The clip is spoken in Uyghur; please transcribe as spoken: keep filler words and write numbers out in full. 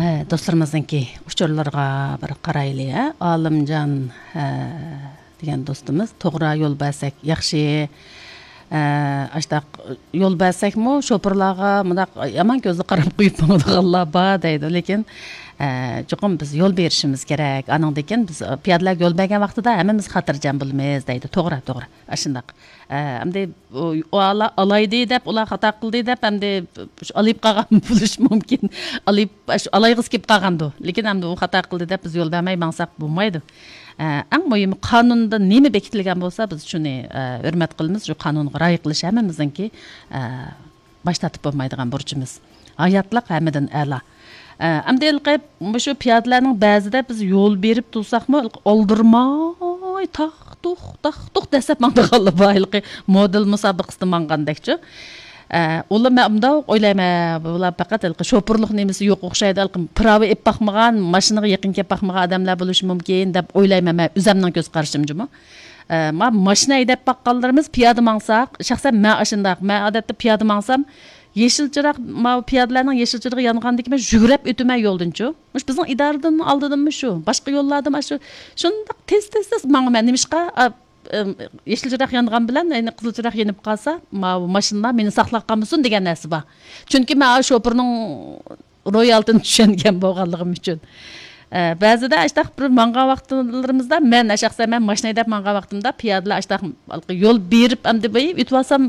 ئە، دوستلىرىمىزنىڭكى ئۇچۇرلىرىغا بىر قارايلى، ھە؟ ئالىمجان، ئە، دېگەن دوستىمىز، توغرا يول بەرسەك ياخشى. ئە، ئاشتاق يول بەرسەكمۇ، شوپۇرلارغا مۇنداق يامان كۆزدە قاراپ قويۇپ ماڭىدىغانلار بار دەيدۇ. لېكىن، ئە، چوقۇم بىز يول بېرىشىمىز كېرەك. ئانىڭدىن كېيىن بىز، پىيادىلەرگە يول بەرگەن ۋاقتىدا ھەممىمىز خاتىرجەم بولىمىز دەيدۇ. توغرا، توغرا. ئاشۇنداق. ئە، ئەمدى ئۇ، ئۇ ئالا-، ئالايدى دەپ، ئۇلار خاتا قىلدى دەپ، ئەمدى شۇ ئالايىپ قالغان بولۇشى مۇمكىن. ئالايىپ، شۇ ئالايغۇسى كېلىپ قالغاندۇ. لېكىن ئەمدى ئۇ خاتا قىلدى دەپ بىز يول بەرمەي ماڭساق بولمايدۇ. ئە، ئەڭ مۇھىمى قانۇندا نېمە بېكىتىلگەن بولسا، بىز شۇنى، ئە، ھۆرمەت قىلىمىز. شۇ قانۇنغا رىئايە قىلىش ھەممىمىزنىڭكى، ئە، باش تارتىپ بولمايدىغان بۇرچىمىز. ھاياتلىق ھەممىدىن ئەلا. ئە، ئەمدى ھېلىقى مۇشۇ پىيادىلەرنىڭ بەزىدە بىز يول بېرىپ تۇرساقمۇ، ھېلىقى ئالدىرىماي تاق-تۇق، تاق-تۇق دەسسەپ ماڭىدىغانلار بار، ھېلىقى مودېل مۇسابىقىسىدە ماڭغاندەكچۇ. ئە، ئۇلار، مەن ئۇنداق ئويلايمەن، بۇلار پەقەت ھېلىقى شوپۇرلۇق نېمىسى يوق ئوخشايدۇ، ھېلىقى پىراۋا ئېلىپ باقمىغان، ماشىنىغا يېقىن كېلىپ باقمىغان ئادەملەر بولۇشى مۇمكىن دەپ ئويلايمەن، مەن ئۆزەمنىڭ كۆز قارىشىم جۇمۇ. ئە، ما-، ماشىنا ھەيدەپ باققانلىرىمىز پىيادە ماڭساق، شەخسەن مەن ئاشۇنداق، مەن ئادەتتە پىيادە ماڭسام، يېشىل چىراغ، ماۋۇ پىيادىلەرنىڭ يېشىل چىرىغى يانغاندىن كېيىن مەن يۈگۈرۈپ ئۆتىمەن يولدىنچۇ. مۇشۇ بىزنىڭ ئىدارىدىن ئالدىدىنمۇ شۇ، باشقا يوللاردىمۇ شۇ، شۇنداق تېز، تېز، تېز ماڭىمەن. نېمىشقا؟ ئا، ئىم، يېشىل چىراغ يانغان بىلەن، يەنە قىزىل چىراغ يېنىپ قالسا، ماۋۇ ماشىنىلار مېنى ساقلاپ قالمىسۇن دېگەن نەرسە بار. چۈنكى مەن شوپۇرنىڭ روھىيالىتىنى چۈشەنگەن بولغانلىقىم ئۈچۈن. ئە، بەزىدە ئاشتاق بىر ماڭغان ۋاقىتلىرىمىزدا، مەن شەخسەن مەن ماشىنا ھەيدەپ ماڭغان ۋاقتىمدا پىيادىلەر ئاشتاق يول بېرىپ، ئەمدى بېرىپ ئۆتۈۋالسام،